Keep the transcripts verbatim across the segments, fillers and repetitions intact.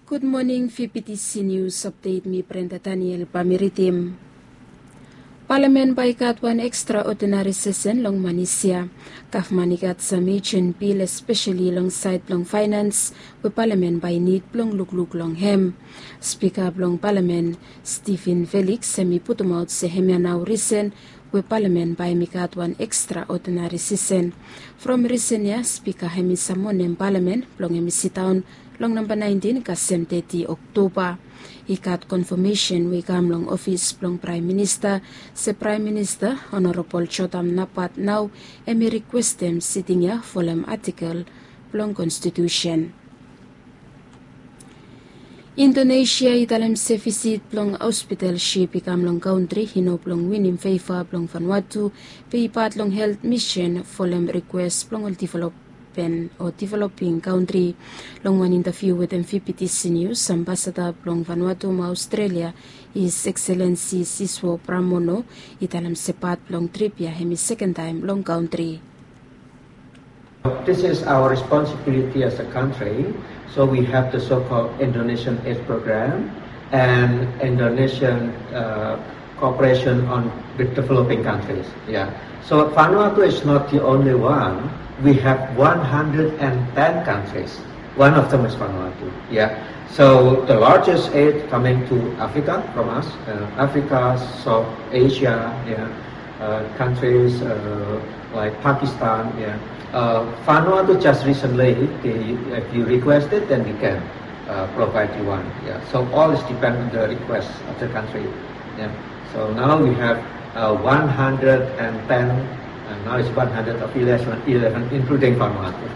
Gud moning, V P T C News Update, mi Brenda Daniel bae mi ridim. Palamen bae i gat wan ekstraodinari sesen long manis ya. Gavman i gat sam ejen bil, espeseli long saed blong faenans, we palamen bae i nid blong lukluk long hem. Spika blong palamen, Stephen Felix, hem i putumaot se hemia nao risen we palamen bae hem i gat wan ekstraodinari sesen. From risen ya, spika hem i samonem palamen blong hem i sidaon long namba naentin kasem teti Oktoba. I gat konfamesen we i kam long ofis blong Praem Minista se Praem Minista Honorabol Jotam Napat nao hem i rikwestem siting ya folem atikel blong konstitusen. Indonesia i talem se visit blong hospital sip i kam long kantri i no blong winim feva blong Vanuatu, be i pat long helt misen folem rikwes blong ol developen o developing kantri. Long wan intaviu wetem V P T C News, ambasada blong Vanuatu mo Australia, His Excellency Siswo Pramono, i talem se pat blong trip ya hem i sekentaem long kantri. This is our responsibility as a country. So we have the so-called Indonesian Aid Program and Indonesian uh, cooperation on the developing countries. Yeah. So Vanuatu is not the only one. We have one hundred and ten countries. One of them is Vanuatu. Yeah. So the largest aid coming to Africa from us, uh, Africa, South Asia, yeah, uh, countries uh, like Pakistan. Yeah. Uh, Vanuatu just recently, they, if you request it, then we can uh, provide you one. Yeah. So all is depend on the request of the country. Yeah. So now we have uh, one hundred and ten, and now it's one hundred of eleven, including Vanuatu.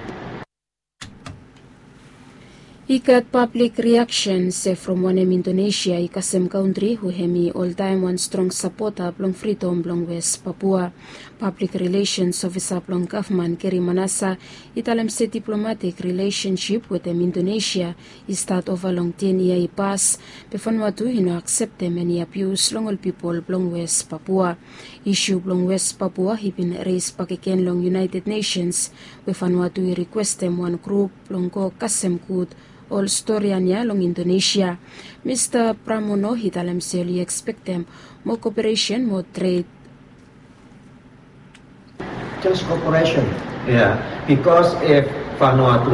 I gat pablik riaksen se from wanem Indonesia i kasem kantri we hem i oltaem wan strong sapota blong fridom blong West Papua. Pablik rilesens ofisa blong gavman Geri Manasa i talem se diplomatik rilesensip wetem Indonesia i stat ova long ten yia i pas, be Vanuatu i no akseptem eni abius long ol pipol blong West Papua. Isu blong West Papua i bin res bakegen long United Nations, we Vanuatu i rikwestem wan grup blong go kasem gud ol storian ya long Indonesia. Mista Pramono i talem se oli ekspektem moa koperesen, moa tred. Just cooperation. Yeah, because if Vanuatu